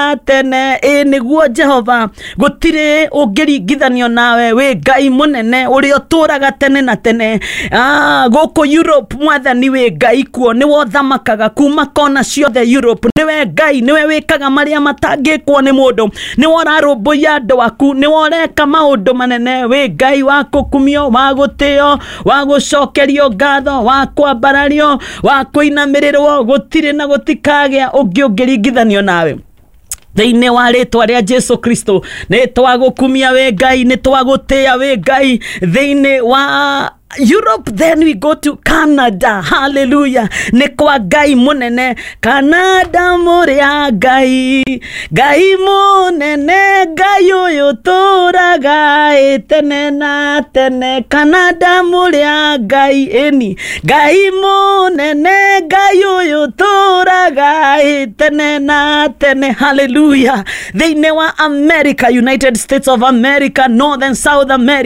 Na tene. Ĩ nĩguo Jehova, gũtirĩ ũngĩringithanio nawe, wĩ Ngai mũnene ũrĩa ũtũraga tene na tene. Gũkũ Europe, Mwathani, wĩ Ngai kuo, nĩwe ũthamakaga kuma kona ciothe Europe. Nĩwe Ngai, nĩwe wĩkaga marĩa matangĩkwo nĩ mũndũ, nĩwe ũrarũmbũiya andũ aku, nĩwe ũreka maũndũ manene. Wĩ Ngai wa kũkumio, wa gũtĩo, wa gũcokerio ngatho, wa kwambarario, wa kũinamĩrĩrwo. Gũtirĩ na gũtikagĩa ũngĩ ũngĩringithanio nawe. Thĩinĩ wa rĩtwa rĩa Jesu Kristo, nĩ twagũkumia wĩ Ngai, nĩ twagũtĩĩa wĩ Ngai thĩinĩ wa Europe. Then we go to Canada. Hallelujah. Nĩ kwa Ngai mũnene. Canada mũrĩa Ngai, Ngai mũnene, Ngai ũyũ tũraga ĩ tene na tene. Canada mũrĩa Ngai, ĩni Ngai mũnene, Ngai ũyũ tũraga ĩ tene na tene. Hallelujah. Thĩinĩ wa America, United States of America, North and South America.